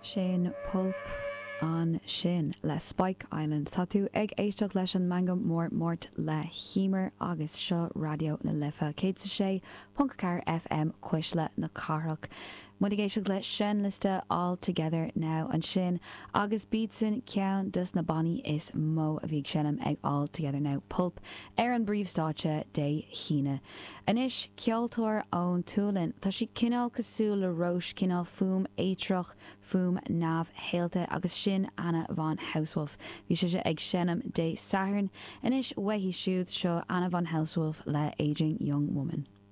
Sin Pulp ansin le Spike Island. Tá tú ag éisteacht leis an Meangadh Mór Máirt le hEmer agus seo Raidió na Life 106.4 FM Cuisle na Cathrach. Muid ag éisteacht le seinnliosta All Together Now ansin agus b'iadsan ceann dos na bannaí is mó a bhí ag seinm ag All Together Now Pulp ar an bpríomhstáitse Dé hAoine. Anois, ceoltóir ón tSualainn. Tá sí cineál cosúil le Róis, cineál fuaim éitreach, fuaim neamhshaolta agus sin Anna von Hausswolff. Bhí sise ag seinm Dé Sathairn. Anois uaithi siúd, seo Anna von Hausswolff le Aging Young Woman.